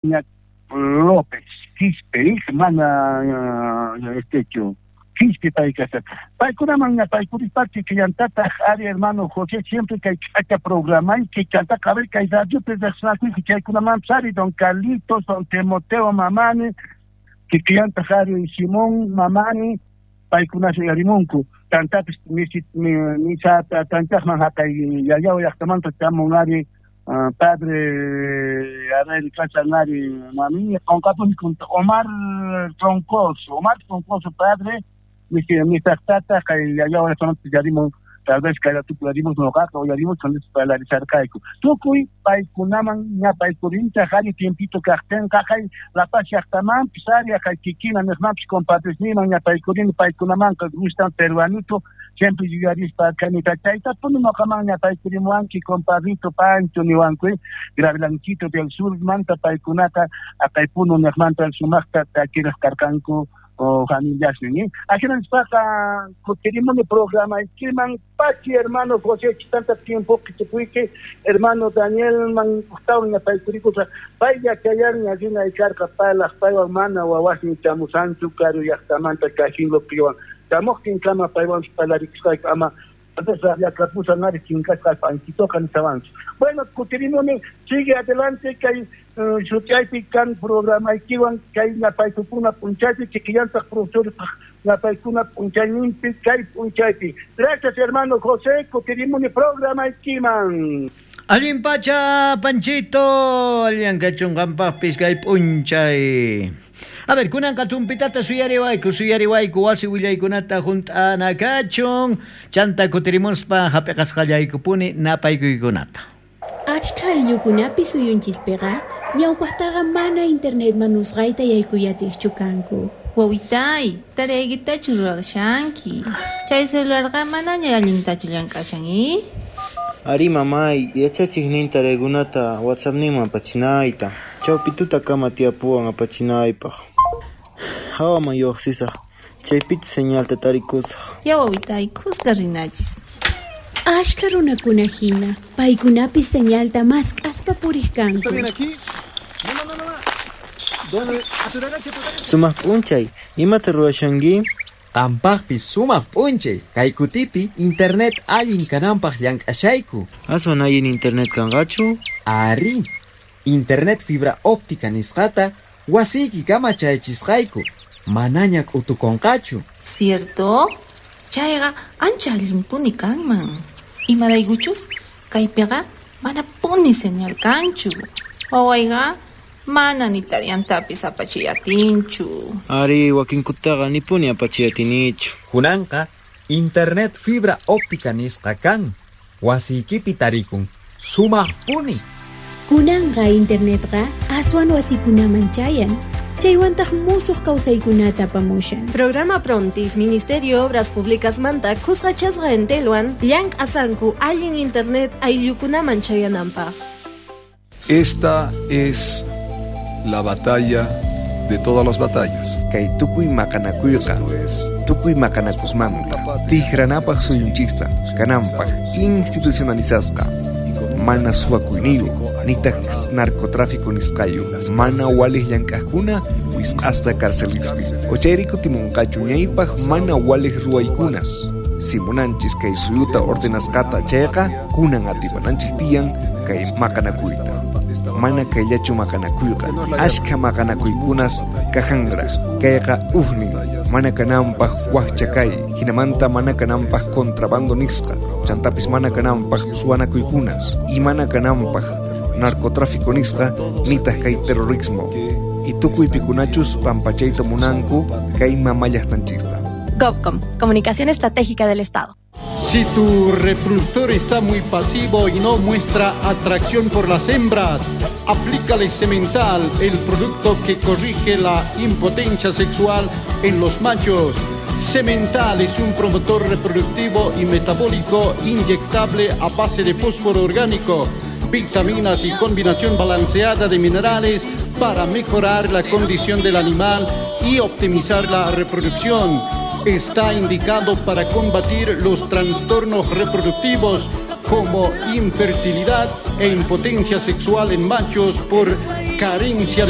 López Quispe, mana estechu Quispe pay kashan. Paykunaman ñapaykurispachi killantataq ari hermano José siempre kay k'acha programayki chantaqa a ver kay radiopi riqsinakuyki chaykunamanpis ari don Carlitos, don Timoteo Mamani, kikillantaq ari Simón Mamani, paykunas uyarimunku. Chantapis misata tanchaqman haqay Yayao llaqtamanta chamun ari padre a ver kashan ari mami qonqapuni Omar Troncoso, Omar Troncoso padre misaqtata kay Yayao llaqtamanta yarimun, tal vez kay ratupi uyarimos noqaqa uyarimos parlarisharqayku. Tukuy paykunaman ñapaykurinchaq ari tiempito kaqtinqa kay La Paz llaqtamanpis ari kay kikina niqmanpis compadresniman ñapaykurini paykunamanqa gustan peruanito siempre yuyarispa kanita chaytapuni noqaman ñapaykurimuwanki compadrito Pancho niwanku Gravelanchito del Sur manta paykunata aqay Puno niqmanta sumaqta takiraq karqanku o familiasnin ni. Ajina nispaqa kutirimuni programaykiman pachi hermano José tanta tiempo kichipuyki hermano Danielman ujtawan ñapaykurikusqa pay yachayanña rinay karqa parlaq paywan mana wawasnin chamusanchu karu llaqtamanta kajinlopiwan chamuqtinkama paywan parlarikusqayku ama rabiakapusan ari chinkasqa Panchitoqa nishawanchu. Bueno, kutirimuni, sigue adelante kay shutyaypi kan programaykiwan kay ñapaykukuna p'unchaypi kikillantaq profesorpaq ñapaykuna p'unchayninpi kay p'unchaypi. Gracias hermano José, kutirimuni programaykiman. Allin pacha, Panchito, allan kachun qampaqpis kay p'unchay. A ver, kunanqa tumpitata suyariwayku, suyariwayku wasi willaykunata hunt'ana kachun, chanta kutirimuspa hap'iqasqallaykupuni napaykuykunata. Achka ayllukunapi suyunchispiqa ñawpaqtaqa mana internetman usqhayta yaykuyatiqchu kanku. Wawitay, tareaykitachu ruwashanki. Chay celularqa manaña allintachu llank'ashan, i? Ari mamay, yachachiq tareakunata WhatsAppninman apachinayta. Chawpi tutakama tiyapuwan apachinaypaq. Hawaman lluqsisaq, chaypichu señalta tarikusaq. Ya wawitay, kuska rinachis. Achka runakuna hina, paykunapis señalta mask'aspa puriq kanku. ¿Está bien aquí? No, no, no, no. ¿Dónde? A tu derecha, a tu derecha. Sumaq p'unchay, imata ruwashanki? Qampaqpis sumaq p'unchay, kay kutipi internet allin kananpaq llank'ashayku. Aswan allin internet kanqachu? Ari, internet fibra óptica nisqata wasiykikama chayachisqayku, manaña k'utukunqachu. Cierto? Chayqa ancha allinpuni kanman. Imaraykuchus kaypiqa manapuni señal kanchu. Wawayqa mana ni tareantapis apachiyatinchu. Ari, wakinkutaqa nipuni apachiyatinichu. Kunanqa internet fibra óptica nisqa kan. Wasiykipi tarikun. Sumaqpuni. Kunanqa internetqa aswan wasikunaman chayan. Chaywantaq musuq kawsaykunata apamushan. Programa Prontis, Ministerio Obras Públicas manta kusqachasqa entelwan llank'asanku allin internet ayllukunaman chayananpaq. Esta es la batalla de todas las batallas. Kay tukuy maqanakuyqa, tukuy maqanakusmanta, tijranapaq suyunchista, kananpaq institucionalizasqa, mana suwakuyniyuq, nitaq narcotráfico nisqayu, mana walej llank'aqkuna wisq'asqa carcelispi. Ochayri kutimunqachu ñaypaq mana walej ruwaykunas. Si munanchis kay suyuta ordenasqata chayqa, kunan atipananchis tiyan kay maqanakuyta. Mana kayllachu maqanakuyqa, ashka maqanakuykunas kajanra, kayqa ujnin, mana kananpaq waqcha kay, hinamanta mana kananpaq contrabando nisqa, chantapis mana kananpaq suwanakuykunas, y mana kananpaq narcotráfico nisqa, nitaq kay terrorismo. Y tukuy pikunachus pampachayta munanku kay mamallaqtanchista. GovCom, Comunicación Estratégica del Estado. Si tu reproductor está muy pasivo y no muestra atracción por las hembras, aplícale Semental, el producto que corrige la impotencia sexual en los machos. Semental es un promotor reproductivo y metabólico inyectable a base de fósforo orgánico, vitaminas y combinación balanceada de minerales para mejorar la condición del animal y optimizar la reproducción. Está indicado para combatir los trastornos reproductivos como infertilidad e impotencia sexual en machos por Carencia de